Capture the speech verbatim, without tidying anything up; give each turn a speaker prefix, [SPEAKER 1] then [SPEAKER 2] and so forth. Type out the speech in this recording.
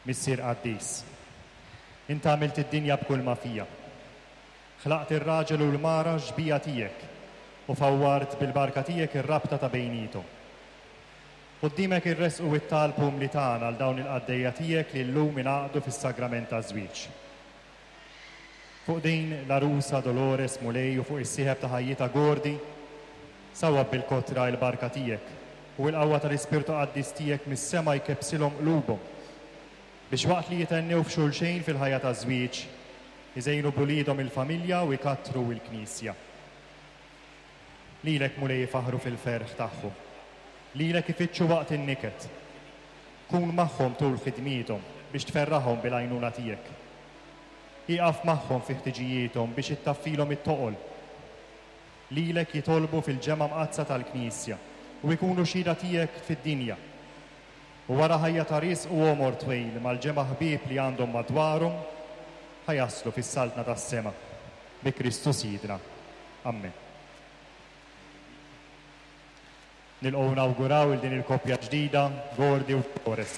[SPEAKER 1] Missier qaddis, int għamilt id-dinja b'kull ma fiha. Ħlaqt ir-raġel u l-mara xbieha tiegħek u fawwart bil-barka tiegħek ir-rabta ta' bejniethom. Quddiemek irressqu it-talb umli tagħna għal dawn il-qaddejja tiegħek li llum ingħaqdu fis-sagrament taż-żwieġ. Fuq din l-għarusa Dolores, Mulej, u fuq is-sieħeb ta' ħajjitha Gordy, sawwab bil-kotra il-barka tiegħek u l-qawwa tal-Ispirtu Qaddis tiegħek mis-sema jkebbsilhom qlubhom biex waqt li jithennew f'xulxejn fil-ħajja taż-żwieġ, iżejnu b'uliedhom il-familja u jkattru il-Knisja. Lilek, Mulej, ifaħħru fil-ferħ tagħhom. Lilek ifittxu waqt in-niket. Kun magħhom tul ħidmiethom biex tferraħhom bil-għajnuna tiegħek. Ieqaf magħhom fi ħtiġijiethom biex ittaffilhom it-toqol. Lilek jitolbu fil-ġemgħa mqaddsa tal-Knisja u jkunu xhieda tiegħek fid-dinja. U wara ħajja ta' riżq u għomor twil mal-ġemgħa ħbieb li għandhom madwarhom, ħa jaslu fis-saltna tas-sema. Bi Kristu Sidna. Amen. Nilqgħu nawguraw il din il-koppja ġdida, Gordy u Dolores.